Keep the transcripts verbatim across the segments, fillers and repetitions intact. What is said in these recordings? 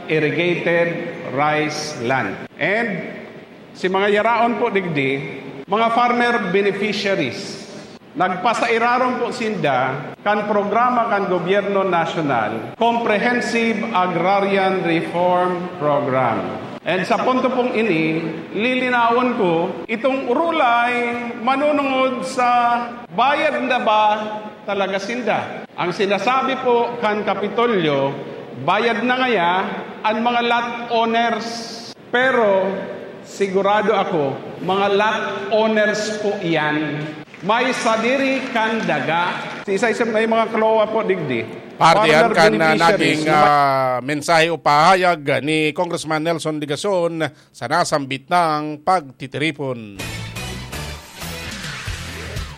irrigated rice land. And si mga yaraon po digdi, mga farmer beneficiaries. Nagpasairarom po sinda kan programa kan gobyerno nasyonal, Comprehensive Agrarian Reform Program. And sa punto pong ini, lilinawon ko, itong urulay manunungod sa bayad na ba talaga sinda. Ang sinasabi po kan Kapitolyo, bayad na ngaya an mga lot owners. Pero sigurado ako, mga lot owners po iyan. May sadiri kan daga. Si isa-isa may mga kalowa po digdi. Parte yan Farmer kan, ah, beneficiaries naging, na ah, mensahe o pahayag ni Congressman Nelson Legacion sa nasambit nang pagtitiripon.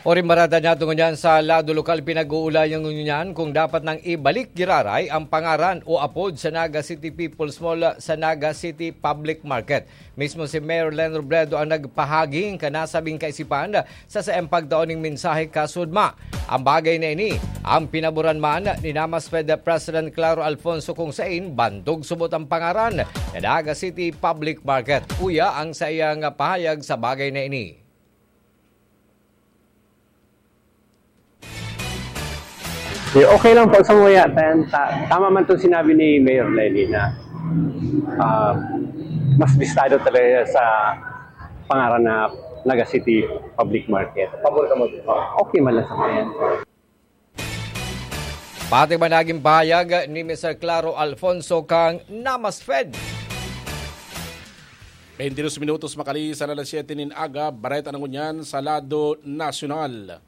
Oring barada niya tungod yan sa lado lokal, pinag-uulayan ngunyan kung dapat nang ibalik giraray ang pangaran o apod sa Naga City People's Mall sa Naga City Public Market. Mismo si Mayor Len Robredo ang nagpahaging kanasabing kaisipan sa saiyang pagtao ning mensahe kasudma. Ang bagay na ini, ang pinaboran man ni Namas Fed President Claro Alfonso kung sain bandog subot ang pangaran na Naga City Public Market. Uya ang saiyang pahayag sa bagay na ini. Eh, okay lang po sa muya. Tan-, ta-, tama man itong sinabi ni Mayor Lenny na ah, mas bistado talaga sa pangaran na Naga City Public Market. Pabor ka mo? Okay man lang sa muya. Pati man naging pahayag ni Mister Claro Alfonso kang Namas Fed. Beintidos minutos makali sa alas siyete nin aga, bareta na ngunyan sa lado nasyonal.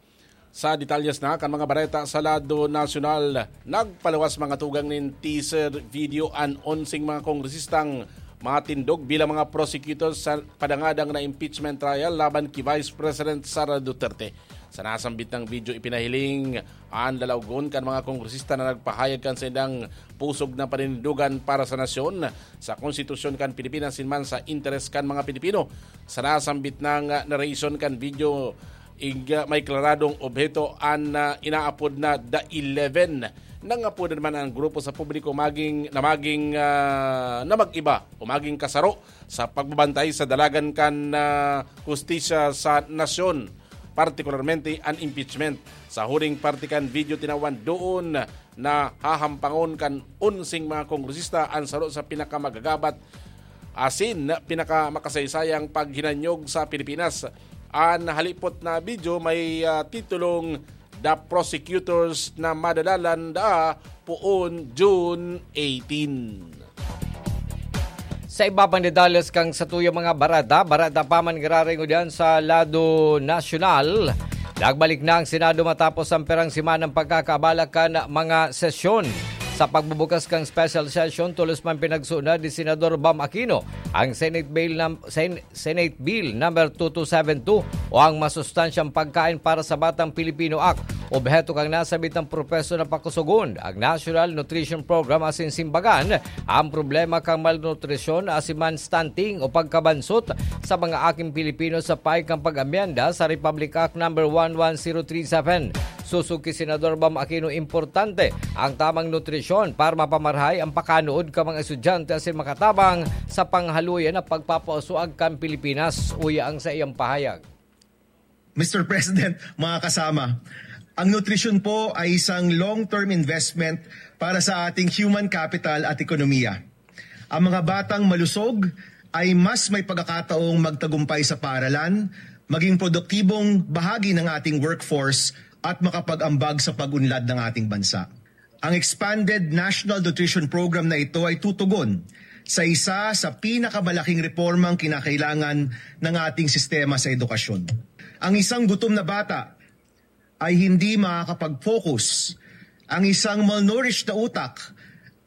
Sa detalyes na kan mga bareta sa lado nasyonal, nagpaluwas mga tugang nin teaser video an onseng mga kongresistang matindog bilang mga prosecutor sa padangadang na impeachment trial laban ki Vice President Sara Duterte. Sa nasambit na video, ipinahiling an lalawgon kan mga kongresista na nagpahayag kan saindang pusog na paninindogan para sa nasyon, sa konstitusyon kan Pilipinas, asin man sa interes kan mga Pilipino. Sa nasambit na narration kan video, ig-, may klaradong obheto an, ah, inaapod na The Eleven. Nangapodan man ang grupo sa publiko maging, na maging, ah, na mag-iba o maging kasaro sa pagbabantay sa dalagan kan, ah, hustisya sa nasyon, partikularmente an impeachment. Sa huring parte kan video, tinawan doon na hahampangon kan onseng mga kongresista an saro sa pinakamagagabat asin pinakamakasaysayang paghinanyog sa Pilipinas. An halipot na video may, ah, titulong The Prosecutors na madadalan daa poon June eighteen. Sa iba pang detalles kan satuyang mga bareta, bareta pa man giraray ngunyan sa lado nasyonal. Nagbalik na ang Senado matapos ang pirang semanang pagkakaabala kan mga sesyon. Sa pagbubukas kan special session, tolos man pinagsunod ni Senador Bam Aquino ang Senate Bill nam-, Sen-, Senate Bill number two two seven two o ang Masustansyang Pagkain para sa Batang Pilipino Act. Obheto kan nasabitang propeso na pakusugon ang National Nutrition Program asin simbagan ang problema kan malnutrisyon asin man stunting o pagkabansot sa mga aking Pilipino sa payo kan pag-amyenda sa Republic Act number one one zero three seven. Sosog ki Senador Bam Aquino, importante ang tamang nutrisyon para mapamarahay ang pakanood kan mga estudyante asin makatabang sa panghaluya na pagpapauswag kan Pilipinas, uya ang saiyang pahayag. Mister President, mga kasama, ang nutrisyon po ay isang long-term investment para sa ating human capital at ekonomiya. Ang mga batang malusog ay mas may pagkakataong magtagumpay sa paaralan, maging produktibong bahagi ng ating workforce at makapag-ambag sa pag-unlad ng ating bansa. Ang expanded National Nutrition Program na ito ay tutugon sa isa sa pinakamalaking reformang kinakailangan ng ating sistema sa edukasyon. Ang isang gutom na bata ay hindi makakapag-focus. Ang isang malnourished na utak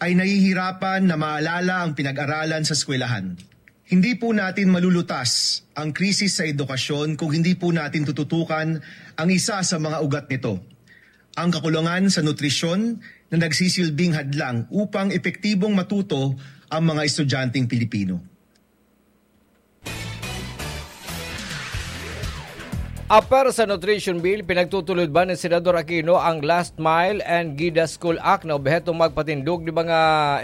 ay nahihirapan na maalala ang pinag-aralan sa eskwelahan. Hindi po natin malulutas ang krisis sa edukasyon kung hindi po natin tututukan ang isa sa mga ugat nito, ang kakulangan sa nutrisyon na nagsisilbing hadlang upang epektibong matuto ang mga estudyanteng Pilipino. Apar sa Nutrition Bill, pinagtutulod ba ni Senador Aquino ang Last Mile and Gida School Act na obhetong magpatindog ni mga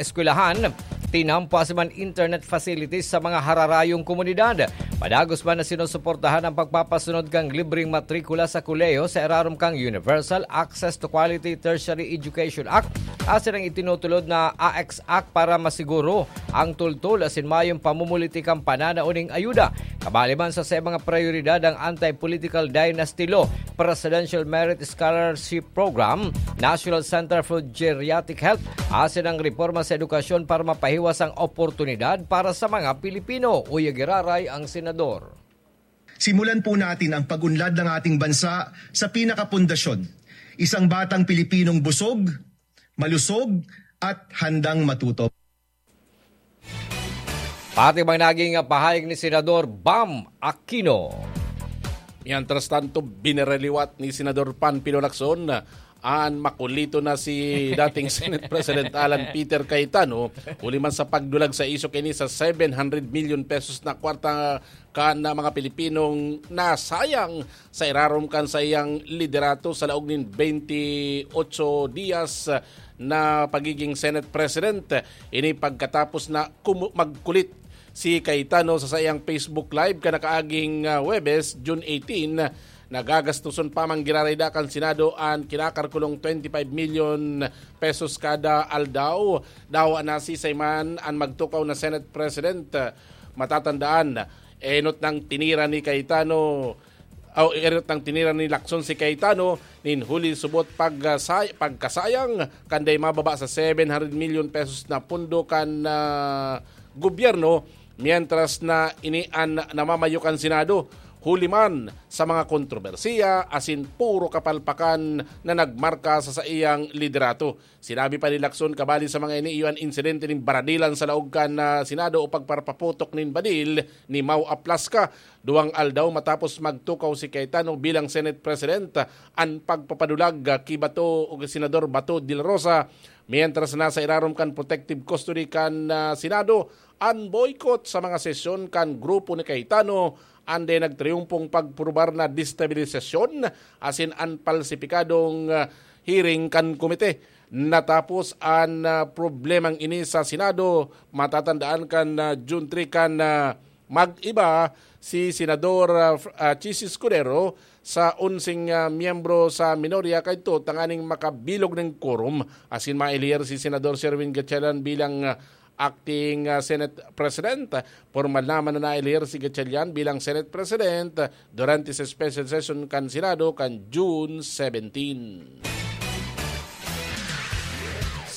eskwelahan tinampo asin man internet facilities sa mga hararayong komunidad. Padagos man na sinusuportahan ang pagpapasunod kan libreng matrikula sa kolehiyo sa irarom kan Universal Access to Quality Tertiary Education Act asin ang itinutulod na A X Act para masiguro ang tultol asin mayong pamumuliti kan pananao ning ayuda. Kabali man sa saiyang mga prayoridad ang anti-political dynasty law, Presidential Merit Scholarship Program, National Center for Geriatric Health, asin ang reporma sa edukasyon para mapahiwas ang oportunidad para sa mga Pilipino. Uya giraray ang senador. Simulan po natin ang pag-unlad ng ating bansa sa pinakapundasyon. Isang batang Pilipinong busog, malusog, at handang matuto. Pati bang naging pahayag ni Senador Bam Aquino? Mientras tanto, binaraliwat ni Senador Panfilo Lacson an makulito na si dating Senate President Alan Peter Cayetano, huli man sa pagdulag sa isyu kaini sa seven hundred million pesos na kwarta kan mga Pilipinong nasayang sa irarom kan saiyang liderato sa laog nin twenty-eight dias na pagiging Senate President. Ini pagkatapos na kumu-, magkulit si Cayetano sa saiyang Facebook Live kan nakaaging, ah, Huwebes, June eighteen, na gagastoson pa man giraray da kan Senado an kinakalkulong twenty-five million pesos kada aldaw. Dawa na si Sayman an magtukaw na Senate President. Matatandaan, enot nang tinira ni Cayetano, aw, enot nang tinira ni Lacson si Cayetano nin huli subot pag, ah, say-, pagkasayang kanday mababa sa seven hundred million pesos na pondo kan, ah, gobyerno, mientras na ini an namamayo kan Senado. Huli man sa mga kontrobersiya asin puro kapalpakan na nagmarka sa saiyang liderato. Sinabi pa ni Lacson, kabali sa mga ini, iyo an insidente nin baradilan sa laog kan, ah, Senado o pagparapaputok nin badil ni Mau Aplasca. Duwang aldaw matapos magtukaw si Cayetano bilang Senate President, an pagpapadulag, ah, ki Bato o ki Senador Bato de la Rosa, mientras nasa irarom kan protective custody kan, ah, Senado, an boycott sa mga sesyon kan grupo ni Cayetano, an dai nagtriumpong pagprubar na destabilisasyon asin an palsipikadong, ah, hearing kan komite. Natapos an, ah, problemang ini sa Senado. Matatandaan kan, ah, June three kan, ah, mag-iba si Senador, ah, Fr-, ah, Chiz Escudero sa onseng, ah, miyembro sa minorya kaidto tanganing makabilog nin quorum asin maeliher si Senador Sherwin Gatchalian bilang, ah, acting, ah, Senate President. Pormal naman na naeliher si Gatchalian bilang Senate President durante sa special session kan Senado kan June seventeen.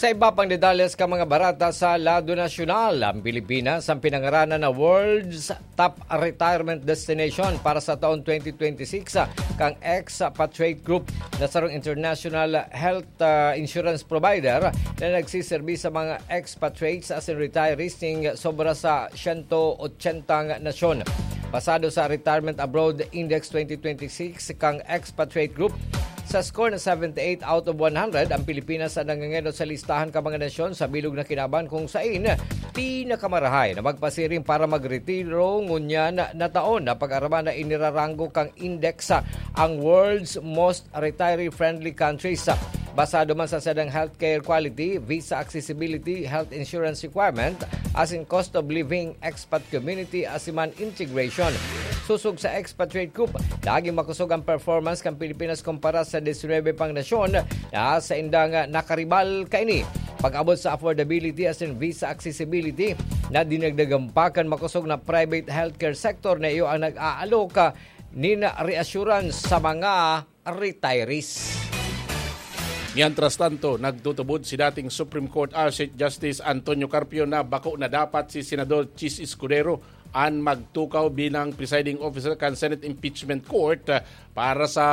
Sa iba pang detalles kan mga barata sa lado nasyonal, ang Pilipinas ang pinangaranan na World's Top Retirement Destination para sa taon twenty twenty-six, ah, kan Expatriate Group na sarong international health, ah, insurance provider na nagsiserbi sa mga expatriates asin retirees ning sobra sa siyento otsentang nasyon. Basado sa Retirement Abroad Index twenty twenty-six kan Expatriate Group, sa score na seventy-eight out of one hundred, ang Pilipinas ang nangangenot sa listahan kan mga nasyon sa bilog na kinaban kung sain pinakamarahay na magpasiring para magretiro ngunyan na taon na pag-araman na iniraranggo kan index ang world's most retiree-friendly countries. Basado man sa sadang healthcare quality, visa accessibility, health insurance requirement, asin cost of living, expat community, asin man integration. Sosog sa Expatriate Group, naging makosog ang performance kan Pilipinas kumpara sa diecinuebe pang nasyon na saindang nakaribal kaini. Pag-abot sa affordability asin visa accessibility, na dinagdagan pa kan makosog na private healthcare sector na iyo ang nag-aalok nin reassurance sa mga retirees. Mientras tanto, nagtutubod si dating Supreme Court, ah, Chief Justice Antonio Carpio na bako na dapat si Senador Chiz Escudero an magtukaw bilang presiding officer kan Senate Impeachment Court, ah, para sa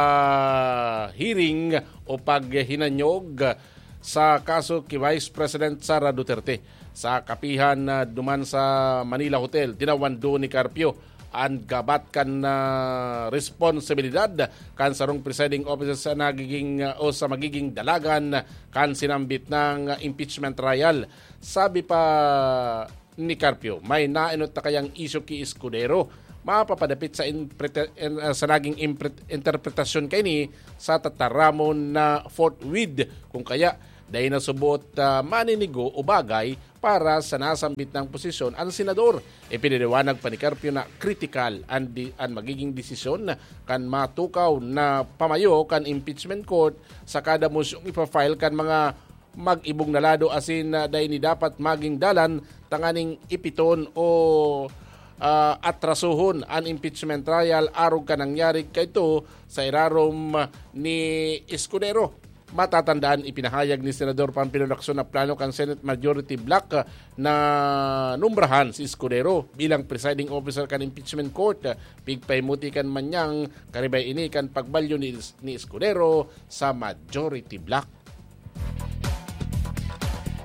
hearing o paghinanyog sa kaso ki Vice President Sara Duterte. Sa kapihan na duman sa Manila Hotel, tinawan duon ni Carpio an gabat kan, ah, responsibilidad kan sarong presiding officer sa nagiging, ah, o sa magiging dalagan kan sinambit na impeachment trial. Sabi pa ni Carpio, may naenot na kayang isyu ki Escudero mapapadapit sa imprete-, en-, ah, sa naging impre-, interpretasyon kaini sa tataramon na forthwith. Kung kaya, dai na subot, ah, maninigo o bagay para sa nasambit nang posisyon an senador. Ipinaliwanag pa ni Carpio na kritikal an di-, an magiging desisyon kan matukaw na pamayo kan impeachment court sa kada mosyong ipa-file kan mga mag-ibong na lado asin, ah, dai ni dapat magin dalan tanganing ipiton o, ah, atrasohon an impeachment trial arog kan nangyari kaito sa irarom ni Escudero. Matatandaan, ipinahayag ni Senador Panfilo Lacson na plano kan Senate Majority Bloc na numbrahan si Escudero bilang presiding officer kan impeachment court. Pigpahimuti kan manyang karibay ini kan pagbalyo ni, ni Escudero sa Majority Bloc.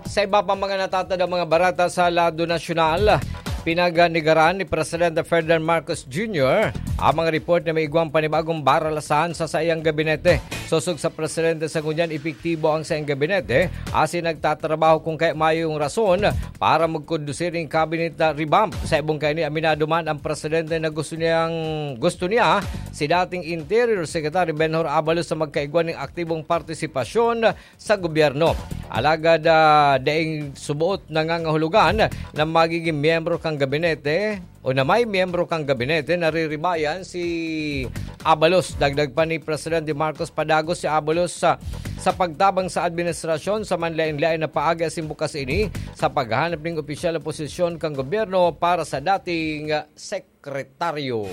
Sa iba pang mga natatandang mga bareta sa lado nasyonal, pinaganigaran ni Presidente Ferdinand Marcos Junior ang mga report na may igwang panibagong baralasahan sa saiyang gabinete. Sosog sa presidente, sa ngunyan epektibo ang saiyang gabinete asin nagtatrabaho kun kaya mayong rason para magkondusir nin cabinet na revamp. Sa ibong kaini, aminado man ang presidente na gusto niyang, gusto niya si dating Interior Secretary Benhur Abalos sa magkaigwa ning aktibong partisipasyon sa gobyerno. Alagad, ah, daing suboot nangangahulugan na magiging miyembro kan gabinete o na may miyembro kan gabinete na riribayan si Abalos. Dagdag pa ni Presidente Marcos, padagos si Abalos sa, sa pagtabang sa administrasyon sa manlaen-laen na paagi asin bukas ini sa paghahanap ning opisyal na posisyon kan gobyerno para sa dating sekretaryo.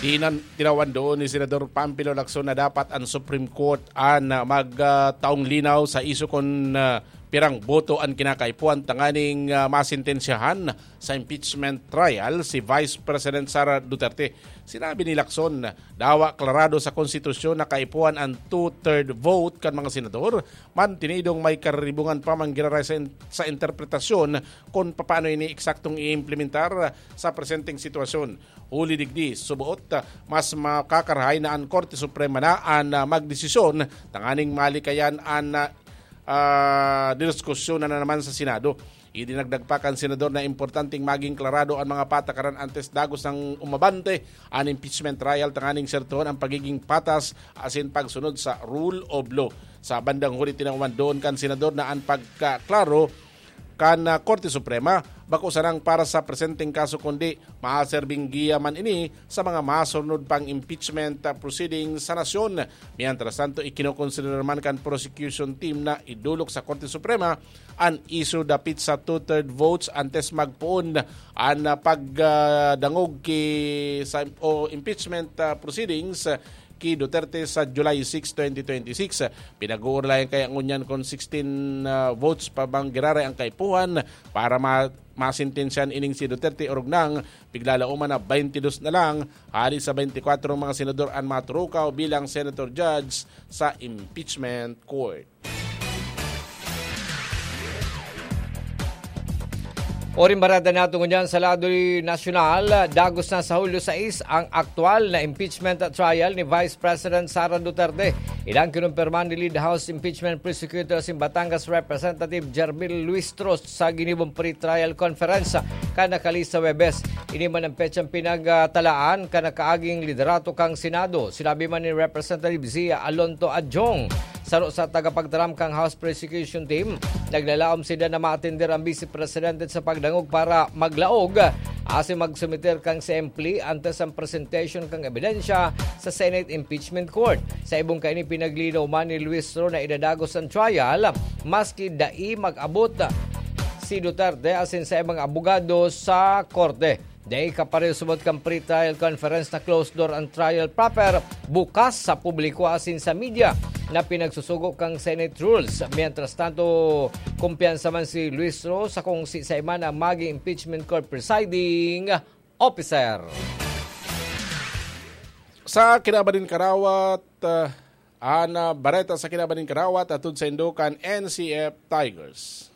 Tinan-, tinawan doon ni Senador Panfilo Lacson na dapat an Supreme Court an, ah, mag, ah, taong linaw sa isyu kun, ah, pirang boto an kinakaipuhan tanganing, ah, masentensyahan sa impeachment trial si Vice President Sara Duterte. Sinabi ni Lacson, dawa klarado sa konstitusyon na kaipuhan an two-third vote kan mga senador, mantinidong may karibungan pa man giraray sa in-, sa interpretasyon kun papaano ini eksaktong iimplementar sa presenteng sitwasyon. Huli digdi, suboot, ah, mas makakarahay na an Korte Suprema na an, ah, magdesisyon tanganing malikayan an, ah, ah, diskusyon na naman sa Senado. Idinagdag pa kan senador na importanteng maging klarado an mga patakaran antes dagos nang umabante an impeachment trial tanganing sertohon ang pagiging patas asin pagsunod sa rule of law. Sa bandang huli, tinawan doon kan senador na an pagkaklaro kan, ah, Korte Suprema bako sanang para sa presenteng kaso kundi maserbing giya man ini sa mga masurnod pang impeachment, ah, proceedings sa nasyon. Mientras tanto, ikinokonsidera man kan prosecution team na idolok sa Korte Suprema an isyu dapit sa two-third votes antes magpoon an, ah, pagdangog ki, sa, o impeachment, ah, proceedings, ah, ki Duterte sa July six, twenty twenty-six. Pinag-uurlayan kaya ngunyan kun sixteen, ah, votes pa bang giraray ang kaipuhan para ma-, masentensyahan ining si Duterte, orog nang piglalauman na twenty-two na lang hali sa twenty-four mga senador an maturukaw bilang senator judge sa impeachment court. Oring bareta nato ngunyan sa lado nasyonal, dagos na sa Hulyo sais ang aktual na impeachment trial ni Vice President Sara Duterte. Ilang kinumpirma ni Lead House Impeachment Prosecutor sin Batangas Representative Jervil Luistro sa ginibong pre-trial conference kan nakalihis sa Huwebes. Ini man ang petsang pinagtalaan kan nakaaging liderato kan Senado. Sinabi man ni Representative Zia Alonto Adjong, saro sa tagapagtaram kan House Prosecution Team, naglalaom sinda na maatender ang Vice Presidente sa pagdangog para maglaog asin magsumiter kan simple antes ang presentation kan ebidensya sa Senate Impeachment Court. Sa ibong kaini, pinaglinaw man ni Luistro na idadagos ang trial maski dai mag-abot si Duterte asin sa ibang abogado sa korte. Dai kapareho subot kan pre-trial conference na closed door ang trial proper, bukas sa publiko asin sa media na pinagsusugo kan Senate rules. Mientras tanto, kumpiyansa man si Luistro sa kung siisay man ang maging impeachment court presiding officer. Sa kinaban nin karawat, ah, an, ah, bareta sa kinaban nin karawat, atod saindo kan N C F Tigers.